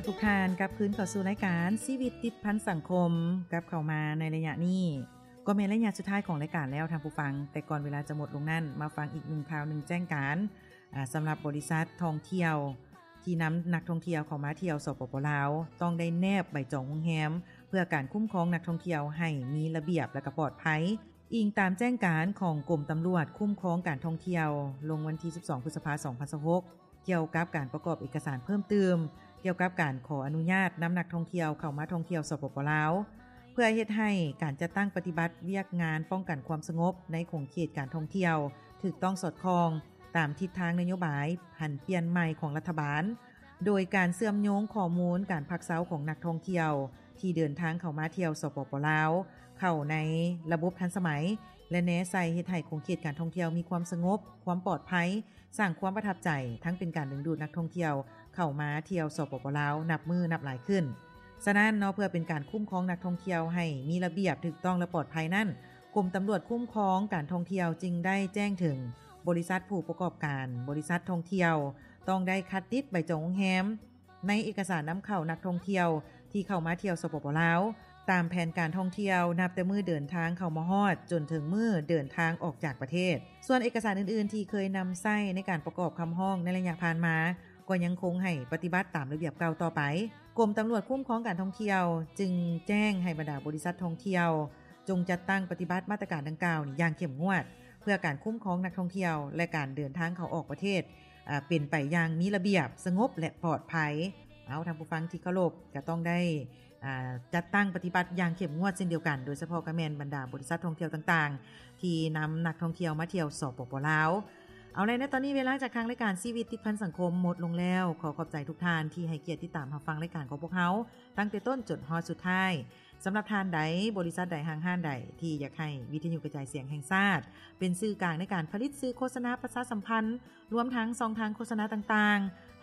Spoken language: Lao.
ທຸກທ່ານກັບຄືນເຂົ້າສູ່ລາຍການຊີວິດຕິດພັນສັງຄົມ ກັບເຂົ້າມາໃນໄລຍະນີ້ ກໍແມ່ນໄລຍະສຸດທ້າຍຂອງລາຍການແລ້ວທ່ານຜູ້ຟັງ, ແຕ່ກ່ອນເວລາຈະໝົດລົງນັ້ນ ມາຟັງອີກໜຶ່ງຂ່າວໜຶ່ງແຈ້ງການ ອາ ສຳລັບບໍລິສັດທ່ອງທ່ຽວ ທີ່ນຳນັກທ່ອງທ່ຽວເຂົ້າມາທ່ຽວ ສປປ ລາວ ຕ້ອງໄດ້ແນບໃບຈອງໂຮງແຮມ ເພື່ອການຄຸ້ມຄອງນັກທ່ອງທ່ຽວໃຫ້ມີລະບຽບ ແລະ ກໍປອດໄພ. ອີງຕາມແຈ້ງການຂອງກົມຕຳຫຼວດຄຸ້ມຄອງການທ່ອງທ່ຽວ ລົງວັນທີສິບສອງ ພຶດສະພາ ສອງພັນຊາວຫົກ ກ່ຽວກັບການປະກອບເອກະສານເພີ່ມຕື່ມ ກ່ຽວກັບການຂໍອະນຸຍາດນຳນັກທ່ອງທ່ຽວເຂົ້າມາທ່ອງທ່ຽວ ສປປ ລາວ ເພື່ອເຮັດໃຫ້ການຈັດຕັ້ງປະຕິບັດວຽກງານປ້ອງກັນຄວາມສະຫງົບໃນຂົງເຂດການທ່ອງທ່ຽວ ຖືກຕ້ອງສອດຄ່ອງຕາມທິດທາງນະໂຍບາຍຜັນປ່ຽນໃໝ່ຂອງລັດຖະບານ, ໂດຍການເຊື່ອມໂຍງຂໍ້ມູນການພັກເຊົາຂອງນັກທ່ອງທ່ຽວ ທີ່ເດີນທາງເຂົ້າມາທ່ຽວ ສປປ ລາວ ເຂົ້າໃນລະບົບທັນສະໄໝ ແລະ ແນໃສ່ເຮັດໃຫ້ຂົງເຂດການທ່ອງທ່ຽວມີຄວາມສະຫງົບ, ຄວາມປອດໄພ, ສ້າງຄວາມປະທັບໃຈ, ທັງເປັນການດຶງດູດນັກທ່ອງທ່ຽວເຂົ້າມາທ່ຽວ ສປປ ລາວ ນັບມື້ນັບຫຼາຍຂຶ້ນ. ສະນັ້ນເນາະ ເພື່ອເປັນການຄຸ້ມຄອງນັກທ່ອງທ່ຽວໃຫ້ມີລະບຽບ, ຖືກຕ້ອງ ແລະ ປອດໄພນັ້ນ, ກົມຕຳຫຼວດຄຸ້ມຄອງການທ່ອງທ່ຽວຈຶ່ງໄດ້ແຈ້ງເຖິງບໍລິສັດຜູ້ປະກອບການບໍລິສັດທ່ອງທ່ຽວ ຕ້ອງໄດ້ຄັດຕິດໃບຈອງໂຮງແຮມ ໃນເອກະສານນຳເຂົ້ານັກທ່ອງທ່ຽວທີ່ເຂົ້າມາທ່ຽວ ສປປ ລາວ ຕາມແຜນການທ່ອງທ່ຽວ ນັບແຕ່ມື້ເດີນທາງເຂົ້າມາຮອດ ຈົນເຖິງມື້ເດີນທາງອອກຈາກປະເທດ. ສ່ວນເອກະສານອື່ນໆທີ່ເຄີຍນຳໃຊ້ໃນການປະກອບຄຳຮ້ອງໃນໄລຍະຜ່ານມາ ກໍຍັງຄົງໃຫ້ປະຕິບັດຕາມລະບຽບເກົ່າຕໍ່ໄປ. ກົມຕຳຫຼວດຄຸ້ມຄອງການທ່ອງທ່ຽວຈຶ່ງແຈ້ງໃຫ້ບັນດາບໍລິສັດທ່ອງທ່ຽວ ຈົ່ງຈັດຕັ້ງປະຕິບັດມາດຕະການດັ່ງກ່າວນີ້ຢ່າງເຂັ້ມງວດ ເພື່ອການຄຸ້ມຄອງນັກທ່ອງທ່ຽວ ແລະ ການເດີນທາງເຂົ້າອອກປະເທດ ອາ ເປັນໄປຢ່າງມີລະບຽບ, ສະຫງົບ ແລະ ປອດໄພ. ເອົາ ທ່ານຜູ້ຟັງທີ່ເຄົາລົບ ກໍຕ້ອງໄດ້ ອາ ຈັດຕັ້ງປະຕິບັດຢ່າງເຂັ້ມງວດເຊັ່ນດຽວກັນ, ໂດຍສະເພາະກໍແມ່ນບັນດາບໍລິສັດທ່ອງທ່ຽວຕ່າງໆ ທີ່ນຳນັກທ່ອງທ່ຽວມາທ່ຽວ ສປປ ລາວ. ເອົາແລະ ໃນຕອນນີ້ເວລາຈາກທາງລາຍການຊີວິດຕິດພັນສັງຄົມໝົດລົງແລ້ວ. ຂໍຂອບໃຈທຸກທ່ານທີ່ໃຫ້ກຽດຕິດຕາມຮັບຟັງລາຍການຂອງພວກເຮົາ ຕັ້ງແຕ່ຕົ້ນຈົນຮອດສຸດທ້າຍ. ສຳລັບທ່ານໃດ, ບໍລິສັດໃດ, ຫ້າງຮ້ານໃດ ທີ່ຢາກໃຫ້ວິທະຍຸກະຈາຍສຽງແຫ່ງຊາດ ເປັນສື່ກາງໃນການຜະລິດສື່ໂຄສະນາ, ປະຊາສຳພັນ, ລວມທັງຊ່ອງທາງໂຄສະນາຕ່າງໆ,